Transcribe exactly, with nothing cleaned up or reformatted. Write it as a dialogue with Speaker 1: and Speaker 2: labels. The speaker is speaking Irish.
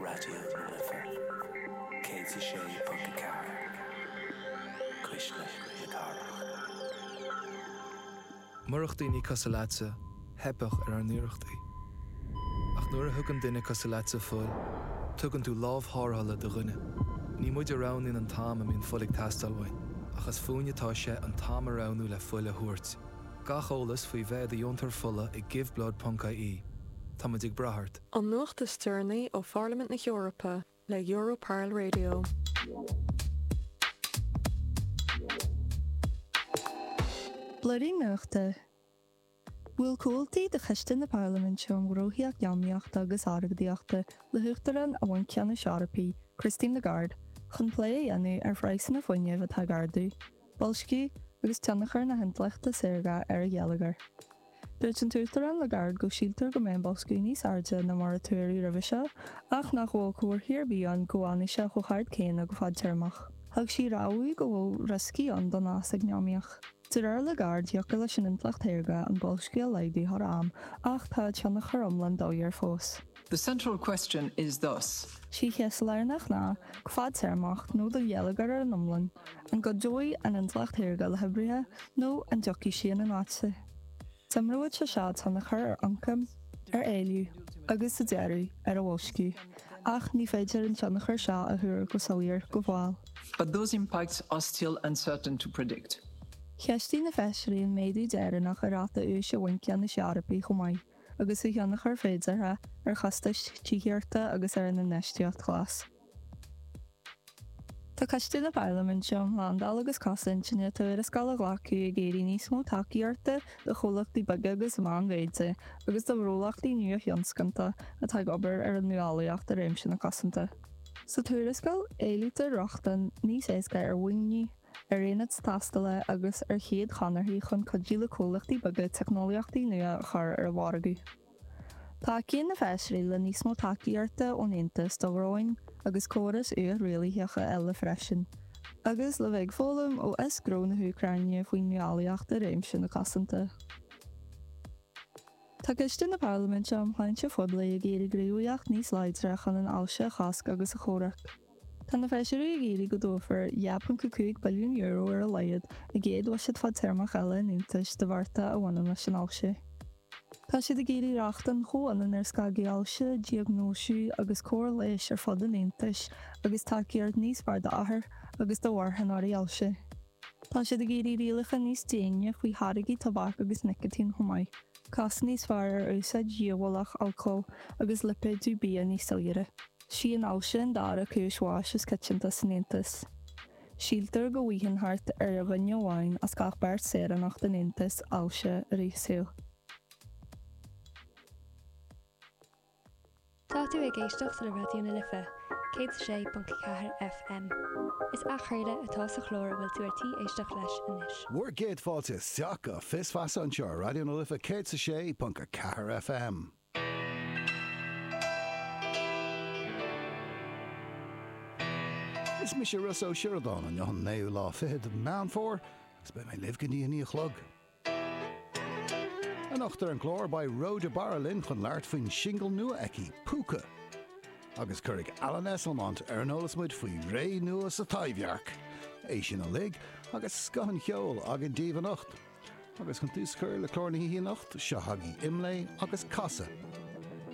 Speaker 1: Raidió na Life céad a sé ponc a ceathair, Cuisle na Cathrach.
Speaker 2: Murach daoine cosúil leatsa, theipfeadh ar ár n-iarrachtaí. Ach nuair a thugann duine cosúil leatsa fuil, tugann tú lámh tharrthála do dhuine. Ní muid a roghnaíonn an t-am a mbíonn fuil ag teastáil uainn, ach is fúinne atá sé an t-am a roghnú le fuil a thabhairt. Gach eolas faoi bheith i do dheontóir fola ag giveblood.ie. Táimid ag brath ort.
Speaker 3: An nuacht is deireanaí ó Pharlaimint na hEorpa le Europarl Radio.
Speaker 4: Blúirín Nuachta. Bhuail comhaltaí de Choiste na Parlaiminte um Ghnóthaí Eacnamaíochta agus Airgeadaíochta le hUachtarán an Bhainc Ceannais Eorpaigh, Christine Lagarde, chun plé a dhéanamh ar phraghsanna fuinnimh atá ag ardú, boilsciú agus tionchar na hintleachta saorga ar an gheilleagar. Dúirt an tUachtarán Lagarde go síltear go mbeidh an boilsciú níos airde ná mar a tuaradh roimhe seo ach nach bhfuil comharthaí ar bith ann go bhfanfaidh sé chomh hard céanna go fadtéarmach. Thug sí rabhadh go bhfuil rioscaí ann don fhás eacnamaíoch. De réir Lagarde, thiocfadh leis an intleacht shaorga an boilsciú a laghdú thar am ach tá a tionchar iomlán doiléir fós.
Speaker 5: The central question is thus.
Speaker 4: Sí an cheist lárnach ná, go fadtéarmach, nó don gheilleagar ar an iomlán, an gcuideoidh an intleacht shaorga le hoibrithe nó an dtiocfaidh sí ina n-áit? D'imreodh sé seo tionchar ar ioncam, ar éileamh agus, sa deireadh, ar an bhoilsciú, ach ní féidir an tionchar seo a thuar go soiléir go fóill.
Speaker 5: But those impacts are still uncertain to predict.
Speaker 4: Cheistigh na feisirí an méadú deireanach ar ráta úis an Bhainc Ceannais Eorpaigh chomh maith, agus a thionchar féideartha ar chostais tithíochta agus ar an infheistíocht ghlas. Tá Coiste na Parlaiminte um Shlándáil agus Cosaint i ndiaidh tuarascáil a ghlacadh ag iarraidh níos mó tacaíochta do chomhlachtaí beaga agus meánmhéide agus do ghnólachtaí nua-thionscanta atá ag obair ar an nuálaíocht i réimse na cosanta. Sa tuarascáil, éilítear rochtain níos éasca ar mhaoiniú, ar aonaid tástála agus ar chéad chonarthaí chun cuidiú le comhlachtaí beaga teicneolaíochtaí nua a chur ar an mhargadh. Tacaíonn na feisirí le níos mó tacaíochta ón Aontas do dhróin agus córais uathrialaitheacha eile freisin, agus le bheith ag foghlaim ó fhios gnó na hÚcráine faoin nuálaíocht i réimse na cosanta. Tá Coiste na Parlaiminte um Shláinte Phoiblí ag iarraidh gníomhaíocht níos láidre chun an ailse a chosc agus a chomhrac. Tá na feisirí ag iarraidh go dtabharfar dhá ponc a cúig billiún euro ar a laghad i gcéad bhuiséad fadtéarmach eile an Aontais do bhearta a bhaineann leis an ailse. Tá siad ag iarraidh rochtain chomhionann ar scagadh ailse, diagnóisiú agus cóir leighis ar fud an Aontais agus tacaíocht níos fearr d'othair agus do mharthanóirí ailse. Tá siad ag iarraidh rialacha níos déine faoi tháirgí tobac agus nicitín chomh maith, cosc níos fearr ar úsáid dhíobhálach alcóil agus lipéadú bia níos soiléire. Sí an ailse an dara cúis bháis is coitianta san Aontas. Síltear go bhfaigheann thart ar dhuine amháin as gach beirt saoránach den Aontas ailse i rith a saoil.
Speaker 6: Tá tú ag éisteacht le Raidió na Life, céad a sé ponc ceathair FM. Is athchraoladh atá sa chlár a bhfuil tú ar tí éisteacht leis anois.
Speaker 7: Bhur gcéad fáilte isteach go Fios Feasa anseo ar Raidió na Life céad a sé ponc a ceathair FM. Is mise Rossa Ó Sioradáin, inniu an naoú lá fichead de Mheán Fómhair agus beidh mé libh go dtí a naoi a chlog. Anocht ar an gclár beidh Ró de Barra linn chun labhairt faoin singil nua aici, Púca. Agus cuirfidh Alan Esslemont ar an eolas muid faoi ré nua sa Taibhdhearc. É sin uilig agus scoth an cheoil againn daoibh anocht. Agus chun tús a chur le clár na hoíche anocht, seo chugaibh Imlé agus Casadh.